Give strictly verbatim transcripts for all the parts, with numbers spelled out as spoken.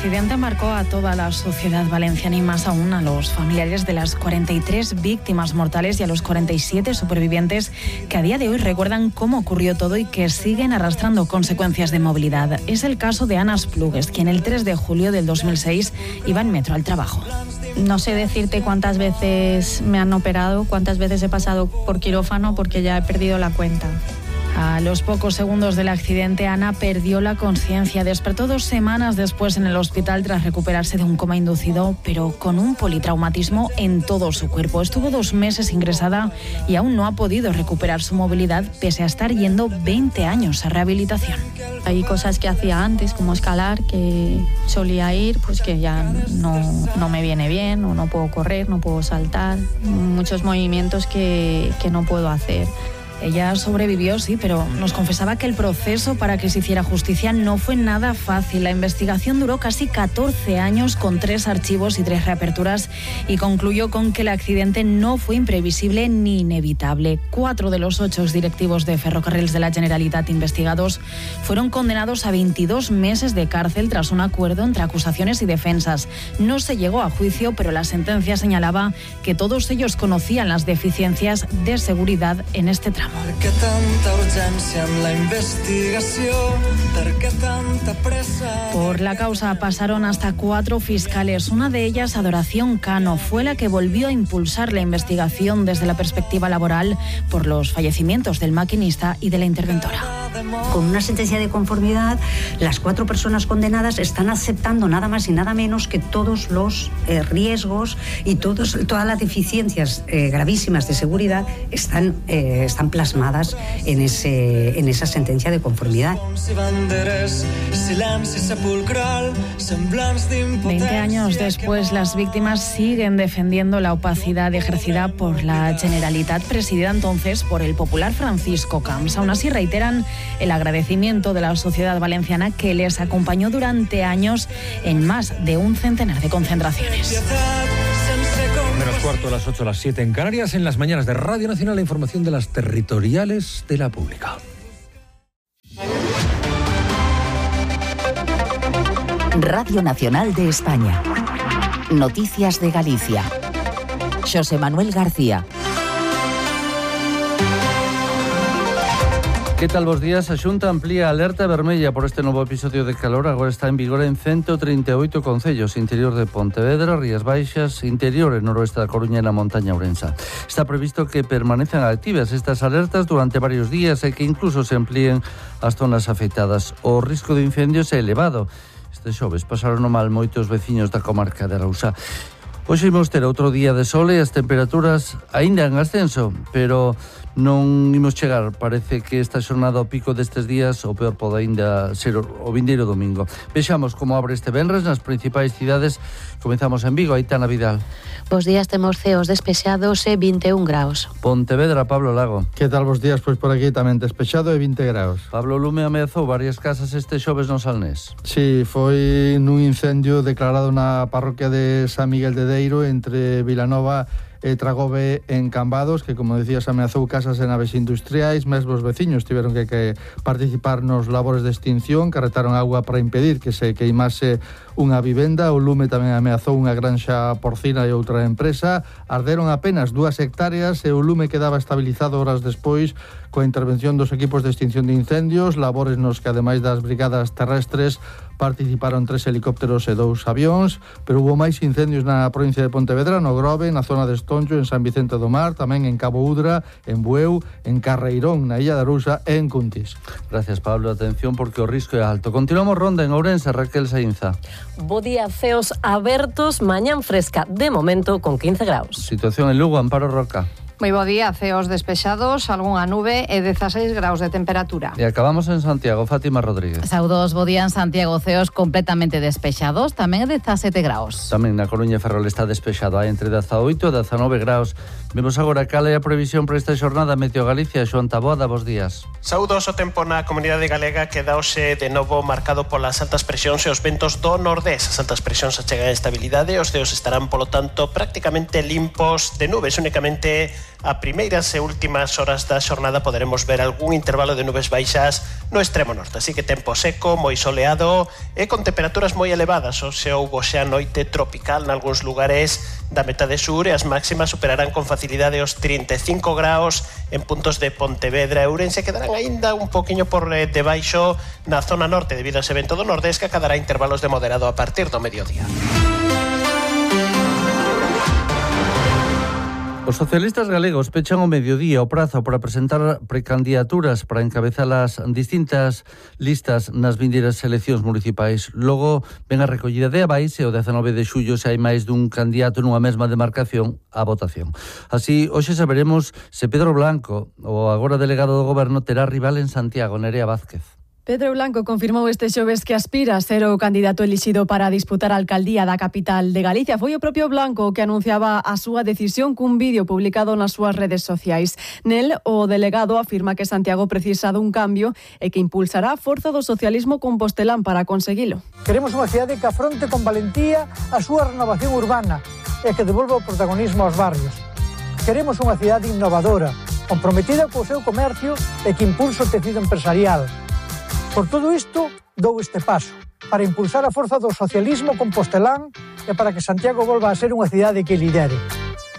accidente marcó a toda la sociedad valenciana y más aún a los familiares de las cuarenta y tres víctimas mortales y a los cuarenta y siete supervivientes que a día de hoy recuerdan cómo ocurrió todo y que siguen arrastrando consecuencias de movilidad. Es el caso de Ana Esplugues, quien el tres de julio del dos mil seis iba en metro al trabajo. No sé decirte cuántas veces me han operado, cuántas veces he pasado por quirófano porque ya he perdido la cuenta. A los pocos segundos del accidente, Ana perdió la conciencia. Despertó dos semanas después en el hospital tras recuperarse de un coma inducido, pero con un politraumatismo en todo su cuerpo. Estuvo dos meses ingresada y aún no ha podido recuperar su movilidad, pese a estar yendo veinte años a rehabilitación. Hay cosas que hacía antes, como escalar, que solía ir, pues que ya no, no me viene bien, o no puedo correr, no puedo saltar. Muchos movimientos que, que no puedo hacer. Ella sobrevivió, sí, pero nos confesaba que el proceso para que se hiciera justicia no fue nada fácil. La investigación duró casi catorce años con tres archivos y tres reaperturas y concluyó con que el accidente no fue imprevisible ni inevitable. Cuatro de los ocho directivos de Ferrocarrils de la Generalitat investigados fueron condenados a veintidós meses de cárcel tras un acuerdo entre acusaciones y defensas. No se llegó a juicio, pero la sentencia señalaba que todos ellos conocían las deficiencias de seguridad en este tramo. Per què tanta urgència en la investigació? Per què tanta pressa? Por la causa pasaron hasta cuatro fiscales. Una de ellas, Adoración Cano, fue la que volvió a impulsar la investigación desde la perspectiva laboral por los fallecimientos del maquinista y de la interventora. Con una sentencia de conformidad, las cuatro personas condenadas están aceptando nada más y nada menos que todos los eh, riesgos y todos, todas las deficiencias eh, gravísimas de seguridad están, eh, están plasmadas en, ese, en esa sentencia de conformidad. Veinte años después, las víctimas siguen defendiendo la opacidad ejercida por la Generalitat, presidida entonces por el popular Francisco Camps. Aún así reiteran el agradecimiento de la sociedad valenciana que les acompañó durante años en más de un centenar de concentraciones. Menos cuarto a las ocho, a las siete en Canarias, en las mañanas de Radio Nacional, la información de las territoriales de la pública. Radio Nacional de España. Noticias de Galicia. José Manuel García. Que tal vos días? A Xunta amplía a alerta vermella por este novo episodio de calor. Agora está en vigor en ciento treinta e oito concellos: interior de Pontevedra, Rías Baixas, interior e noroeste da Coruña e na montaña ourensa. Está previsto que permanezcan activas estas alertas durante varios días e que incluso se amplíen as zonas afectadas. O risco de incendios é elevado. Este xoves pasaron o mal moitos veciños da comarca de Arousa. Hoxe imos ter outro día de sol e as temperaturas aínda en ascenso, pero non imos chegar. Parece que esta xornada ao pico destes días o peor pode aínda ser o vindeiro domingo. Vexamos como abre este venres nas principais cidades. Comezamos en Vigo, Aitana Vidal. Bos días, temos ceos despexados e vinte e un graus. Pontevedra, Pablo Lago. Que tal vos días? Pois por aquí tamén despexado e vinte graus. Pablo Lume ameazou varias casas este xoves no Salnés. Sí, foi nun incendio declarado na parroquia de San Miguel de Deiro entre Vilanova e Tragobe en Cambados, que, como decías, ameazou casas e naves industriais. Mesmo os veciños tiveron que, que participar nos labores de extinción, carretaron agua para impedir que se queimase unha vivenda. O lume tamén ameazou unha granxa porcina e outra empresa. Arderon apenas dúas hectáreas e o lume quedaba estabilizado horas despois coa intervención dos equipos de extinción de incendios, labores nos que, ademais das brigadas terrestres, participaron tres helicópteros e dous avións. Pero hubo máis incendios na provincia de Pontevedra, no Grove, na zona de Estoncho, en San Vicente do Mar, tamén en Cabo Udra, en Bueu, en Carreirón, na Illa de Arousa e en Cuntis. Gracias, Pablo. Atención porque o risco é alto. Continuamos ronda en Ourense, Raquel Sainza. Bo día, ceos abertos, mañán fresca, de momento con quince graus. Situación en Lugo, Amparo Roca. Moi bo día, ceos despexados, algunha nube e dezaseis graus de temperatura. E acabamos en Santiago, Fátima Rodríguez. Saudos, bo día en Santiago, ceos completamente despexados, tamén dezasete graus. Tamén na Coruña e Ferrol está despexado, hai entre dezaoito e dezanove graus. Vemos agora cal é a previsión para esta xornada. Meteo Galicia, Xoan Taboada, bos días. Saudos, o tempo na comunidade galega queda hoxe de novo marcado polas altas presións e os ventos do nordés. As altas presións achegan a estabilidade, os ceos estarán, polo tanto, prácticamente limpos de nubes, únicamente a primeiras e últimas horas da xornada poderemos ver algún intervalo de nubes baixas no extremo norte, así que tempo seco, moi soleado e con temperaturas moi elevadas. O se houbo xa noite tropical nalgúns lugares da metade sur e as máximas superarán con facilidade os trinta e cinco graus en puntos de Pontevedra e Ourense, quedarán aínda un poquinho por debaixo na zona norte debido a ese vento do nordés que acadará intervalos de moderado a partir do mediodía. Os socialistas galegos pechan o mediodía o prazo para presentar precandidaturas para encabezar as distintas listas nas vindeiras eleccións municipais. Logo ven a recollida de avais e o dezanove de xullo se hai máis dun candidato nunha mesma demarcación a votación. Así, hoxe saberemos se Pedro Blanco, o agora delegado do goberno, terá rival en Santiago. Nerea Vázquez. Pedro Blanco confirmou este xoves que aspira a ser o candidato elixido para disputar a alcaldía da capital de Galicia. Foi o propio Blanco que anunciaba a súa decisión cun vídeo publicado nas súas redes sociais. Nel, o delegado afirma que Santiago precisa dun cambio e que impulsará a forza do socialismo compostelán para conseguilo. Queremos unha cidade que afronte con valentía a súa renovación urbana e que devolva o protagonismo aos barrios. Queremos unha cidade innovadora, comprometida co seu comercio e que impulse o tecido empresarial. Por todo isto, dou este paso, para impulsar a forza do socialismo compostelán e para que Santiago volva a ser unha cidade que lidere.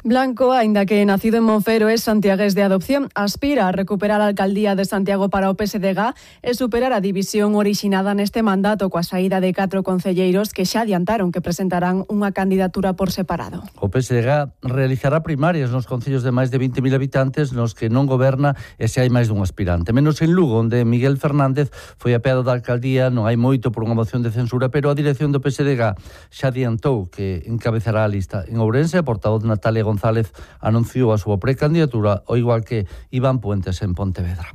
Blanco, aínda que nacido en Monfero, é santiagués de adopción, aspira a recuperar a alcaldía de Santiago para o P S D G e superar a división orixinada neste mandato coa saída de catro concelleiros que xa adiantaron que presentarán unha candidatura por separado. O P S D G realizará primarias nos concellos de máis de vinte mil habitantes nos que non goberna e se hai máis dun aspirante. Menos en Lugo, onde Miguel Fernández foi apeado da alcaldía, non hai moito por unha moción de censura, pero a dirección do P S D G xa adiantou que encabezará a lista. En Ourense, a portavoz Natalia González González anunciou a súa precandidatura, ao igual que Iván Puentes en Pontevedra.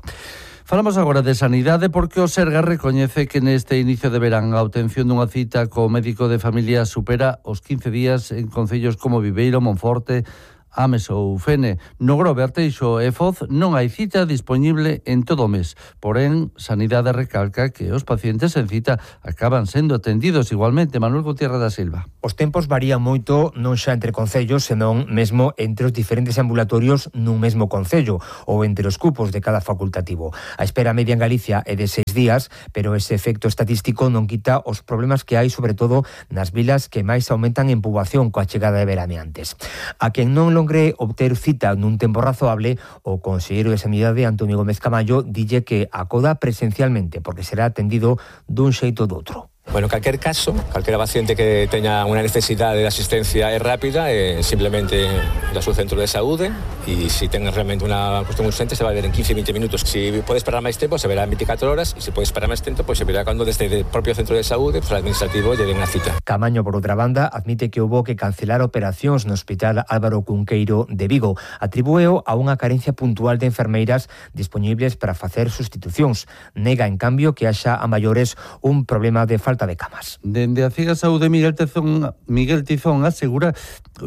Falamos agora de sanidade porque o Sergas recoñece que neste inicio de verán a obtención dunha cita co médico de familia supera os quince días en concellos como Viveiro, Monforte, Ames ou Fene. No Grove, Arteixo e Foz non hai cita disponible en todo o mes. Porén, Sanidade recalca que os pacientes en cita acaban sendo atendidos igualmente. Manuel Gutiérrez da Silva. Os tempos varían moito non xa entre concellos, senón mesmo entre os diferentes ambulatorios nun mesmo concello ou entre os cupos de cada facultativo. A espera media en Galicia é de seis días, pero ese efecto estatístico non quita os problemas que hai, sobre todo nas vilas que máis aumentan en poboación coa chegada de veraneantes. A quen non logre obter cita nun tempo razoable, o conselleiro de Sanidade, Antonio Gómez Camallo, dille que acoda presencialmente porque será atendido dun xeito ou doutro. Bueno, en calquer caso, calquera paciente que teña unha necesidade de asistencia é rápida, é simplemente da seu centro de saúde, e se ten realmente unha cuestión urgente se vai ver en quince a veinte minutos. Se pode esperar máis tempo, se verá en veinticuatro horas, e se pode esperar máis tempo, pois se verá cando desde o propio centro de saúde, pues, o administrativo lle den a cita. Camaño, por outra banda, admite que houbo que cancelar operacións no Hospital Álvaro Cunqueiro de Vigo. Atribúeo a unha carencia puntual de enfermeiras disponibles para facer sustitucións. Nega, en cambio, que haxa a maiores un problema de falta de camas. Dende a Ciga Saúde, Miguel Tizón, Miguel Tizón asegura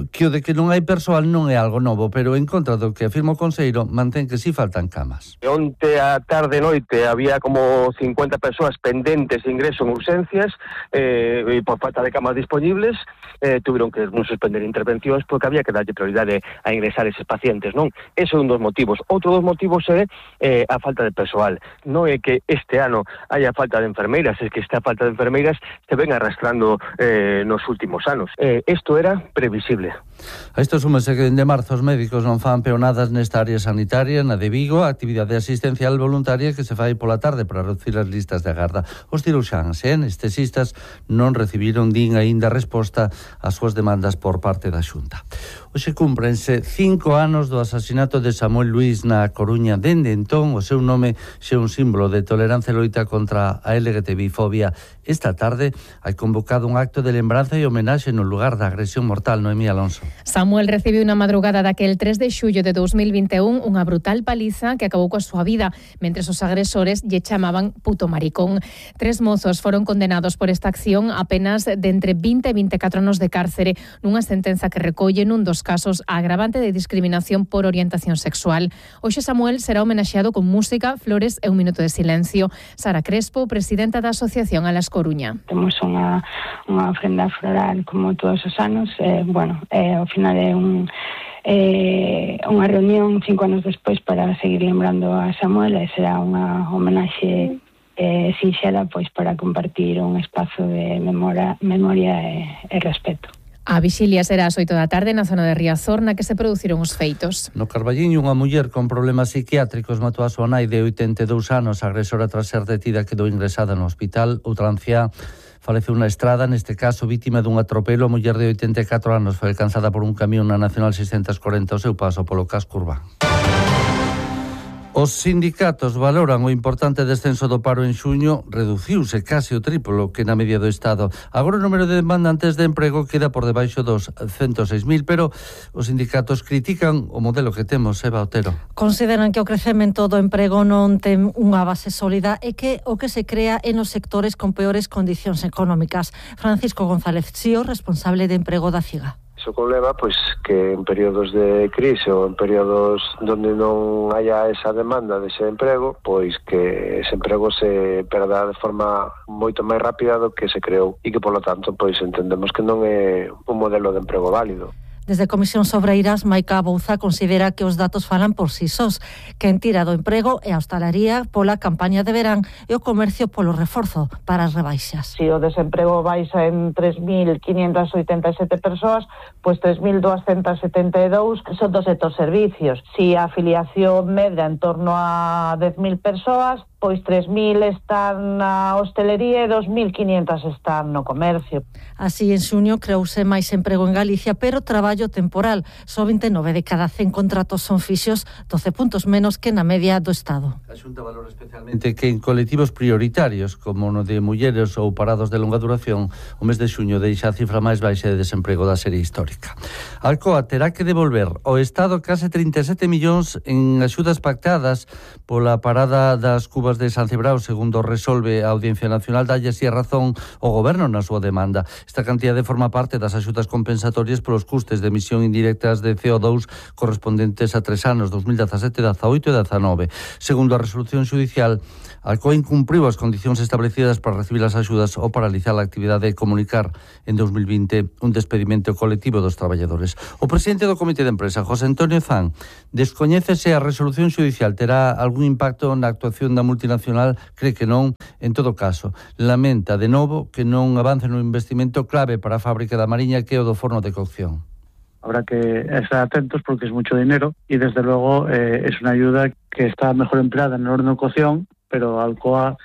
que o de que non hai persoal non é algo novo, pero en contra do que afirma o conselleiro, mantén que si faltan camas. Onte a tarde e noite había como cincuenta persoas pendentes de ingreso en urgencias eh, e por falta de camas disponibles eh, tuvieron que non suspender intervencións porque había que darlle prioridade a ingresar eses pacientes, non? Ese é un dos motivos. Outro dos motivos é eh, a falta de persoal. Non é que este ano haya falta de enfermeiras, é que esta falta de enfermeiras se ven arrastrando eh, nos últimos anos. Eh, isto era previsible. A isto súmase que dende marzo os médicos non fan peonadas nesta área sanitaria, na de Vigo, a actividade asistencial voluntaria que se fai pola tarde para reducir as listas de agarda. Os ciruxáns e anestesistas non recibiron din aínda resposta ás súas demandas por parte da Xunta. Hoxe cúmprense cinco anos do asasinato de Samuel Luís na Coruña. Dende entón, o seu nome xe un símbolo de tolerancia e loita contra a L G T B fobia. Esta tarde hai convocado un acto de lembranza e homenaxe no lugar da agresión mortal. Noemí Alonso. Samuel recibiu na madrugada daquel tres de xullo de dos mil vinte e un unha brutal paliza que acabou coa súa vida, mentres os agresores lle chamaban puto maricón. Tres mozos foron condenados por esta acción a penas de entre vinte e vinte e catro anos de cárcere, nunha sentenza que recolle nun dos casos a agravante de discriminación por orientación sexual. Hoxe Samuel será homenaxeado con música, flores e un minuto de silencio. Sara Crespo, presidenta da Asociación a la Coruña. Temos unha, unha ofrenda floral como todos os anos, eh, bueno, eh, ao final é un eh, unha reunión cinco anos despois para seguir lembrando a Samuel, e será unha homenaxe eh, sinxela pois para compartir un espazo de memoria, memoria e, e respeto. A vixilia será ás oito da tarde na zona de Riazor, na que se produciron os feitos. No Carballiño, unha muller con problemas psiquiátricos matou a súa nai de oitenta e dous anos. A agresora, tras ser detida, quedou ingresada no hospital. Outra anciá faleceu na estrada, neste caso vítima dun atropelo. A muller de oitenta e catro anos foi alcanzada por un camión na Nacional seiscentos corenta ao seu paso polo casco urbano. Os sindicatos valoran o importante descenso do paro en xuño, reduciuse case o triplo que na media do Estado. Agora o número de demandantes de emprego queda por debaixo dos ciento seis mil, pero os sindicatos critican o modelo que temos, Eva Otero. Consideran que o crecemento do emprego non ten unha base sólida e que o que se crea é nos sectores con peores condicións económicas. Francisco González Sío, responsable de emprego da CIGA. Iso conleva pois que en períodos de crise ou en períodos onde non haya esa demanda dese emprego, pois que ese emprego se perda de forma moito máis rápida do que se creou e que, polo tanto, pois entendemos que non é un modelo de emprego válido. Desde Comisións Obreiras, Maica Bouza considera que os datos falan por si sós, que en tira do emprego é a hostalaría pola campaña de verán e o comercio polo reforzo para as rebaixas. Si o desemprego baixa en tres mil quinientas oitenta e sete persoas, pois tres mil duascentas setenta e dous son do sector servicios. Si a afiliación medra en torno a dez mil persoas, pois tres mil están na hostelería e dos mil quinientas están no comercio. Así, en xuño creouse máis emprego en Galicia, pero traballo temporal. Só vinte e nove de cada cen contratos son fixos, doce puntos menos que na media do Estado. A Xunta valora especialmente que en colectivos prioritarios, como no de mulleres ou parados de longa duración, o mes de xuño deixa a cifra máis baixa de desemprego da serie histórica. Alcoa terá que devolver ao Estado case trinta e sete millóns en axudas pactadas pola parada das cubas de San Cibrao, segundo resolve a Audiencia Nacional. Dalle así a razón o Goberno na súa demanda. Esta cantidade forma parte das axudas compensatorias polos custes de emisión indirectas de C O dous correspondentes a tres anos, dos mil dezasete, dezaoito e dezanove. Segundo a resolución judicial, Alcoa incumpriu as condicións establecidas para recibir as axudas ou paralizar a actividade de comunicar en dos mil vinte un despedimento colectivo dos traballadores. O presidente do Comité de Empresa, José Antonio Zan, descoñécese a resolución judicial terá algún impacto na actuación da multinacional. Cree que non. En todo caso, lamenta de novo que non avance no investimento clave para a fábrica da Mariña, que é o do forno de cocción. Habrá que estar atentos porque es mucho dinero y desde luego eh, es una ayuda que está mejor empleada en el horno de cocción, pero Alcoa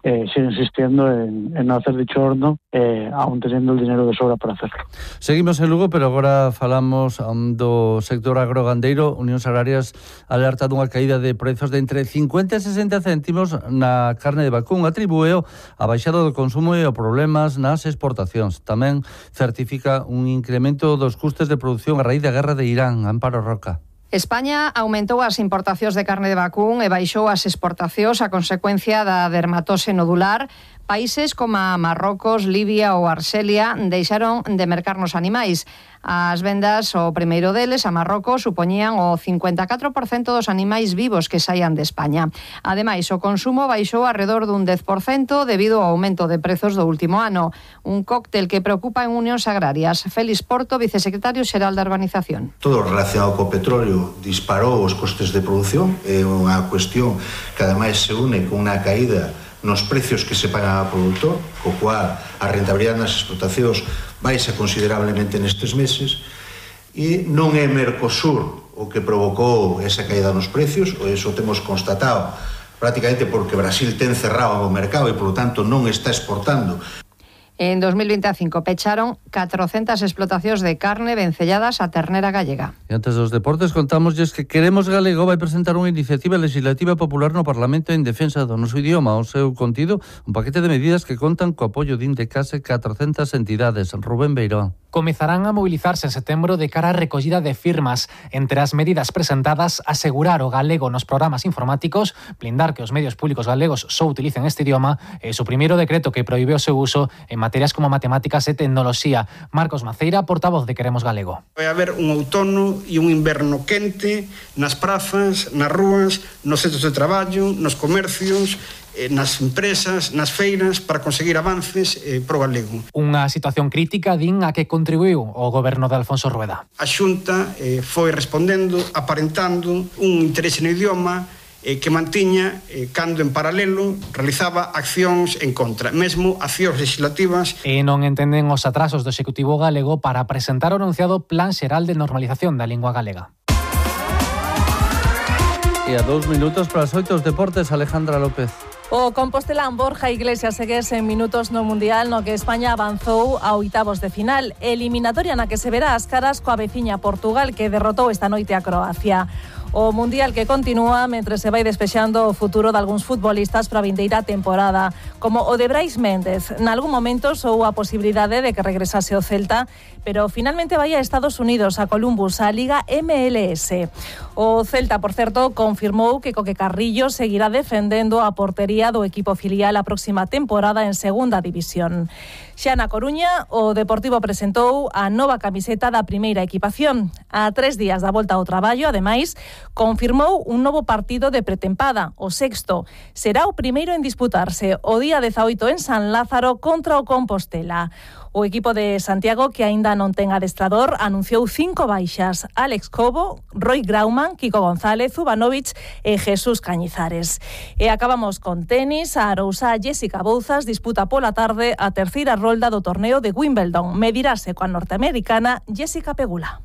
eh, sigue insistiendo en, en no hacer dicho horno, eh, aún teniendo el dinero de sobra para hacerlo. Seguimos en Lugo, pero agora falamos um, do sector agrogandeiro. Unións Agrarias alerta dunha caída de prezos de entre cincuenta e sesenta céntimos na carne de vacún. Atribúeo a baixada do consumo e o problemas nas exportacións. Tamén certifica un incremento dos custes de produción a raíz da guerra de Irán. Amparo Roca. España aumentou as importacións de carne de vacún e baixou as exportacións a consecuencia da dermatose nodular. Países como Marrocos, Libia ou Arxelia deixaron de mercarnos animais. As vendas, o primeiro deles, a Marrocos, supoñían o cincuenta e catro por cento dos animais vivos que saian de España. Ademais, o consumo baixou arredor dun dez por cento debido ao aumento de prezos do último ano. Un cóctel que preocupa en Unións Agrarias. Félix Porto, vicesecretario xeral da Urbanización. Todo relacionado co petróleo disparou os costes de produción. É unha cuestión que ademais se une con unha caída nos precios que se pagan ao produtor, co cual a rentabilidade nas explotacións baixa considerablemente nestes meses, e non é Mercosur o que provocou esa caída nos precios, ou iso temos constatado prácticamente porque Brasil ten cerrado o mercado e, por lo tanto, non está exportando. En dos mil veinticinco pecharon catrocentas explotacións de carne vencelladas a ternera gallega. E antes dos deportes contámoslles que Queremos Galego vai presentar unha iniciativa legislativa popular no Parlamento en defensa do noso idioma. O seu contido, un paquete de medidas que contan co apoio din de case catrocentas entidades. Rubén Beirón. Comezarán a mobilizarse en setembro de cara á recollida de firmas. Entre as medidas presentadas, asegurar o galego nos programas informáticos, blindar que os medios públicos galegos só utilicen este idioma e suprimir o decreto que proíbe o seu uso en materias como matemáticas e tecnoloxía. Marcos Maceira, portavoz de Queremos Galego. Vai haber un outono e un inverno quente nas prazas, nas rúas, nos centros de traballo, nos comercios, eh, nas empresas, nas feiras, para conseguir avances eh, pro galego. Unha situación crítica, din, a que contribuiu o goberno de Alfonso Rueda. A Xunta eh, foi respondendo, aparentando un interese no idioma eh, que mantiña eh, cando en paralelo realizaba accións en contra, mesmo accións legislativas. E non entenden os atrasos do Executivo galego para presentar o anunciado Plan Xeral de Normalización da Lingua Galega. E a dous minutos para os oito os deportes, Alejandra López. O compostelán Borja Iglesias segue en minutos no Mundial no que España avanzou a oitavos de final, eliminatoria na que se verá as caras coa veciña Portugal, que derrotou esta noite a Croacia. O Mundial que continúa mentre se vai despexando o futuro de algúns futbolistas para a vindeira temporada, como o de Brais Méndez. Nalgún momento sou a posibilidade de que regresase o Celta, pero finalmente vai a Estados Unidos, a Columbus, a Liga M L S. O Celta, por certo, confirmou que Coque Carrillo seguirá defendendo a portería do equipo filial a próxima temporada en Segunda División. Xa na Coruña, o Deportivo presentou a nova camiseta da primeira equipación. A tres días da volta ao traballo, ademais, confirmou un novo partido de pretempada, o sexto. Será o primeiro en disputarse o día dezaoito en San Lázaro contra o Compostela. O equipo de Santiago, que aínda non ten adestrador, anunciou cinco baixas: Alex Cobo, Roy Grauman, Kiko González, Zubanovic e Jesús Cañizares. E acabamos con tenis. A arousá Jessica Bouzas disputa pola tarde a terceira rolda do torneo de Wimbledon. Medirase coa norteamericana Jessica Pegula.